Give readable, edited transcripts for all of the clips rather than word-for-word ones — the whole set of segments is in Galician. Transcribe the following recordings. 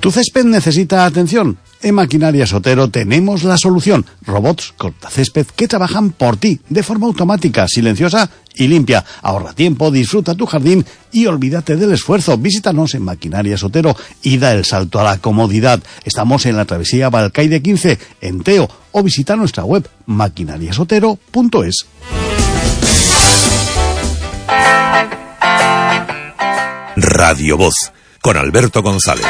¿Tu césped necesita atención? En Maquinarias Otero tenemos la solución. Robots cortacésped que trabajan por ti, de forma automática, silenciosa y limpia. Ahorra tiempo, disfruta tu jardín y olvídate del esfuerzo. Visítanos en Maquinarias Otero y da el salto a la comodidad. Estamos en la travesía Balcaide 15, en Teo, o visita nuestra web maquinariasotero.es. Radio Voz, con Alberto González.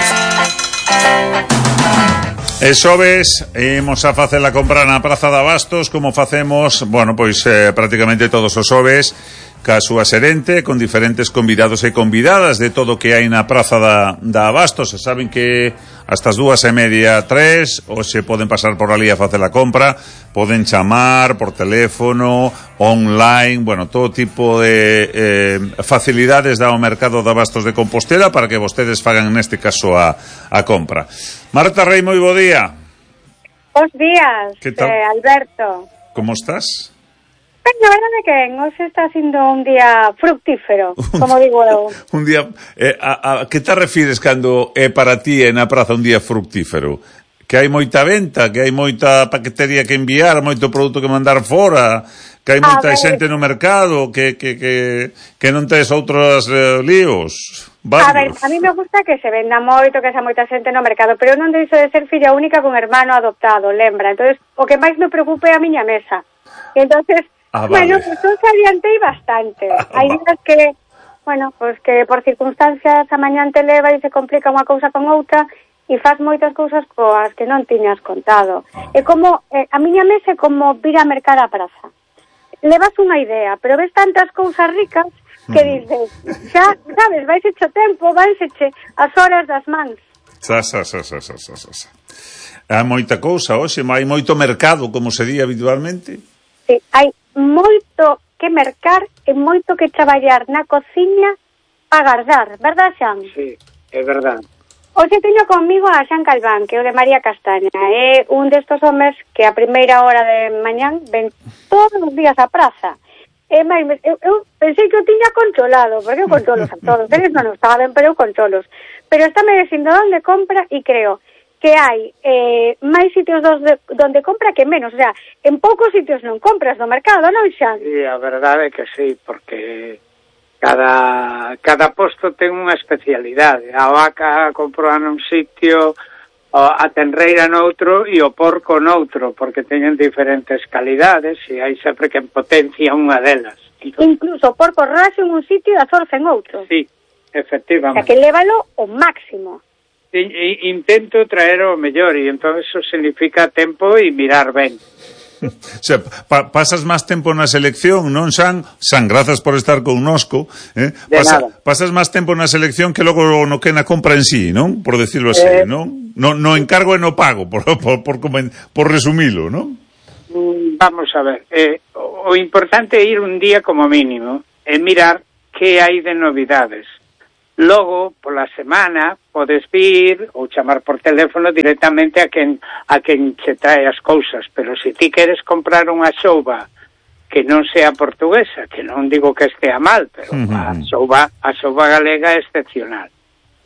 E xoves imos a facer a compra na Praza de Abastos, como facemos, bueno, pois prácticamente todos os xoves, ca súa xerente, con diferentes convidados e convidadas de todo o que hai na Praza da Abastos. Se saben que hasta as 2:30, 3, ou se poden pasar por ali a facer a compra, poden chamar por teléfono, online, bueno, todo tipo de facilidades dá o mercado de Abastos de Compostela para que vostedes fagan neste caso a compra. Marta Rei, moi bo día. Bos días, Alberto. Como estás? Pues la verdade que hoxe está sendo un día fructífero, como digo eu. Un día, a que te refires cando é para ti na praza un día fructífero? Que hai moita venta, que hai moita paquetería que enviar, moito produto que mandar fora, que hai moita xente no mercado, que non tes outros líos. Varios. A ver, a mí me gusta que se venda moito, que xa moita xente no mercado, pero eu non deixo de ser filla única con hermano adoptado, lembra? Entonces, o que máis me preocupe é a miña mesa. Entonces, bueno, pues eu se adiantei bastante. Hai días que, bueno, pues que por circunstancias a mañán te leva e se complica unha cousa con outra e faz moitas cousas coas que non tiñas contado. É como, a miña mesa é como vir a mercar a praza. Levas unha idea, pero ves tantas cousas ricas que dices, xa, sabes, vais hecho tempo, vais heche as horas das mans. Hai moita cousa hoxe, hai moito mercado, como se di habitualmente. Sí, hai moito que mercar e moito que traballar na cociña para guardar, verdad, Xan? Sí, é verdad. Hoxe teño conmigo a Xan Calván, que é o de María Castaña. É un destos homes que a primeira hora de mañán ven todos os días á praza. Eu pensei que o tiña controlado, porque eu controlos a todos. Eles non o saben, pero eu controlos. Pero está me dicindo onde compra e creo que hai máis sitios donde compra que menos, o sea, en poucos sitios non compras no mercado, non, Xan? Sí, a verdade é que sí, porque cada posto ten unha especialidade. A vaca compra nun sitio, a tenreira noutro e o porco noutro, porque teñen diferentes calidades e hai sempre que potencia unha delas. Incluso o porco raso en un sitio e a zorza en outro. Sí, efectivamente. O sea, que lévalo o máximo. Intento traer o mellor e entón eso significa tempo e mirar ben. O sea, pasas máis tempo na selección, non, San, grazas por estar connosco, pasas máis tempo na selección que logo no que na compra en sí, non? Por decirlo así, non? No encargo e no pago, por resumilo, non? Vamos a ver, o importante é ir un día como mínimo e mirar que hai de novidades. Logo, pola semana, podes vir ou chamar por teléfono directamente a quen che trae as cousas, pero se ti queres comprar unha xouba que non sea portuguesa, que non digo que estea mal, pero a xouba galega é excepcional.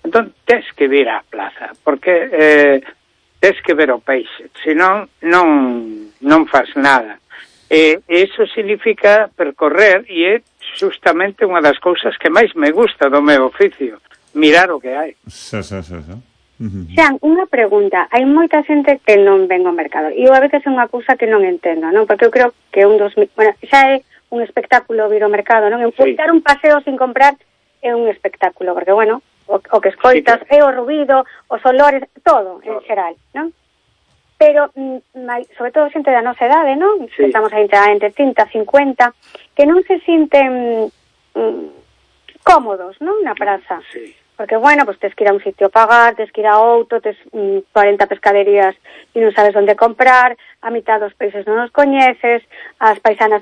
Entón, tes que vir á plaza, porque tes que ver o peixe, senón non faz nada. E iso significa percorrer e é justamente unha das cousas que máis me gusta do meu oficio, mirar o que hai. Xan, unha pregunta. Hai moita xente que non ven ao mercado e eu a veces é unha cousa que non entendo, non? Porque eu creo que xa é un espectáculo vir ao mercado, non? Dar un paseo sin comprar é un espectáculo, porque, bueno, o que escoitas é o ruido, os olores, todo, en xeral, non? Pero, sobre todo xente da nosa edade, non? Sí. Estamos aí entre 30 e 50, que non se sinten cómodos, non? Na praza. Sí. Porque, bueno, pues tes que ir a un sitio a pagar, tes que ir a outro, tes 40 pescaderías e non sabes onde comprar, a mitad dos peixes non os coñeces, as paisanas